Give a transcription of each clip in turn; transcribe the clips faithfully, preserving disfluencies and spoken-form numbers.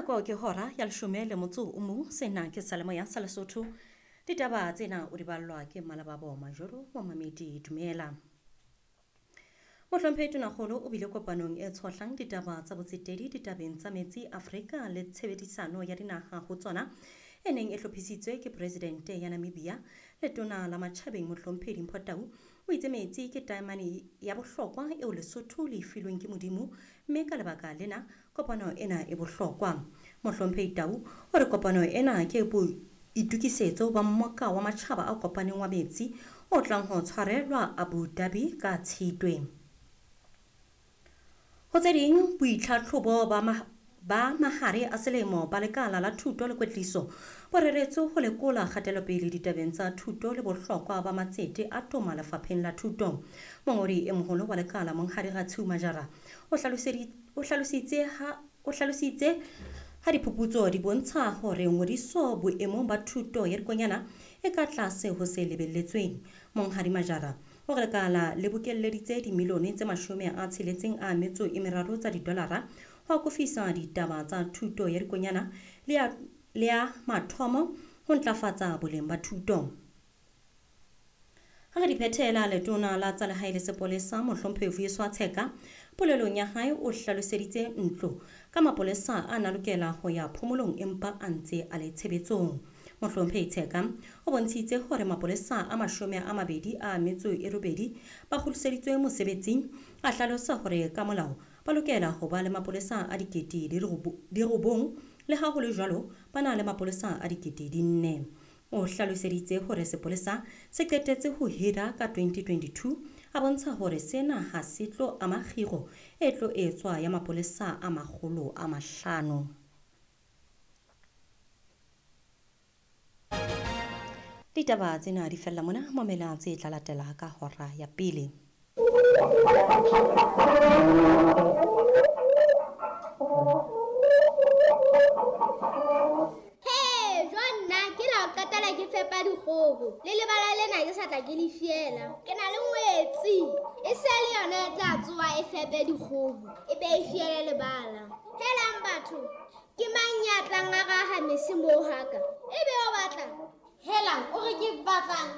Nako ke hora ya leshome le motso o mong. Sena ke Salemoya sa Lesotho. Ditaba tsena o di ballwa ke Malababo Majoro Momamedi dumela. Mohlomphehi Tonakgolo o bile kopanong e tshohlang ditaba tsa botsetedi ditabeng tsa metsi Afrika le tshebedisano ya dinaha ho tsona e neng e hlophisitswe ke Presidente ya Namibia. Letona la Matjhabeng Mohlomphehi Dimpho Tau o itse metsi ke taemane ya bohlokwa eo Lesotho le e filweng ke Modimo, mme ka lebaka lena kopano ena e bohlokwa. Mohlomphehi Tau o re kopano ena ke boitokisetso ba mmoka wa matjhaba a kopaneng wa metsi o tlang ho tshwarelwa Abu Dhabi ka Tshitwe. Ho tse ding, boitlhatlhobo ba ma ba mahare a selemo ba lekala la thuto le kwetliso bo reretswe ho lekola kgatelopele ditabeng tsa thuto le bohlokwa ba matsete a toma lefapheng la thuto. Mongodi e moholo wa lekala Monghadi Ratshiu Majara o o hlalositse ha o hlalositse ha diphuputso di bontsha hore ngodiso boemong ba thuto ya dikonyana e ka tlase ho se lebelletsweng. Monghadi Majara o re lekala le bokelleditse dimilione tse mashome a tsheletseng a metso e meraro tsa didolara ho akofisa ditaba tsa thuto ya dikonyana le ya le ya mathomo ho ntlafatsa boleng ba thuto. Ha re di phethela, letona la tsa lehae le sepolesa Mohlomphehi Vuyiswa Tsheka polelong ya hae o hlaloseditse ntlo ka mapolesa a na lokela ho ya phomolong empa a ntse a le tshebetsong. Mohlomphehi Tsheka o bontshitse hore mapolesa a mashome a mabedi a metso e robedi ba kgutliseditswe mosebetsing, a hlalosa hore ka molao ba lokela ho ba le mapolesa a dikete di robong, le ha ho le jwalo ba na le mapolesa a dikete di nne. O hlaloseditse hore sepolesa se qetetse ho hira ka twenty twenty-two, a bontsha hore sena ha se tlo ama kgiro e tlo etswa ya mapolesa a makgolo a mahlano. Ditaba tsena di fella mona, mamela tse tla latela ka hora ya pele. Hey, Jonna, ke la qetela ke fepa dikgoho. Le lebala lena ke sa tla ke le fiela. Ke na le ngwetsi. E se le yona e tla tsoha e fepe dikgoho. E be e fiele lebala. Helang batho, ke mang ya tlang a raha mese moo haka? E be o batla. Helang, o re ke batlang.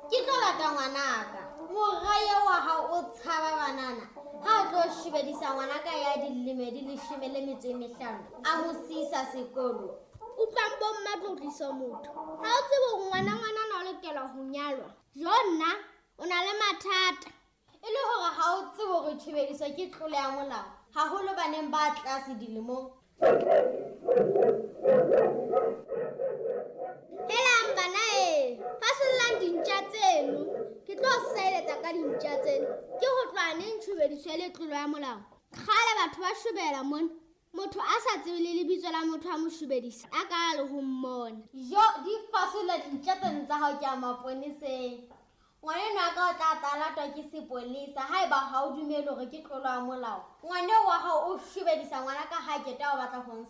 Ke tlo lata ngwanaka. Moraye wa hao o tshaba banana. Ha o tlo shebedisa ngwanaka ya dilemo di leshome le metso e mehlano, a mo siisa sekolo. Utlwang bo mma tlo tlisa motho. Ha o tsebe hore ngwana ngwanana o lokela ho nyalwa. Jonna, o na le mathata. E le hore ha o tsebe hore tshebediso ke tlolo ya molao, haholo baneng ba tlase dilemong. Helang bana e, fasollang dintja tseno. Ke tlo seletsa ka dintja tseno. Ke ho tloha neng tshebediso e le tlolo ya molao? Kgale batho ba shobela mona. Motho a sa tsebe le lebitso la motho a mo shobedisa, a ka le ho mmona. Jo, di fasolla dintja tseno tsa hao ke a maponeseng. Ngwaneno a ka o tla tla latwa ke sepolesa haeba ha o dumele hore ke tlolo ya molao. Ngwaneo wa hao o shobedisa ngwana ka ha keta o batla ho